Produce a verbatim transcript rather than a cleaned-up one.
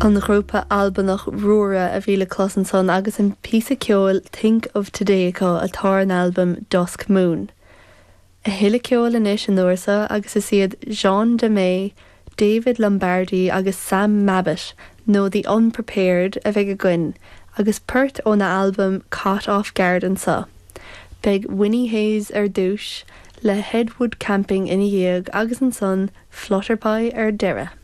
An grúpa Albanach Rura a bhí le clos ansan agus an píosa ceoil Think of Today acu atá ar an albam Dusk Moon. A thuilleadh ceoil anois an uair seo agus is iad Jean de May, David Lombardi agus Sam Mabbott nó The Unprepared a bheidh againn, agus port óna albam Caught Off Guard anseo. Beidh Winnie Hayes ar dtús le Headwood Camping ina dhiaidh agus ansan Flutterpie ar deireadh.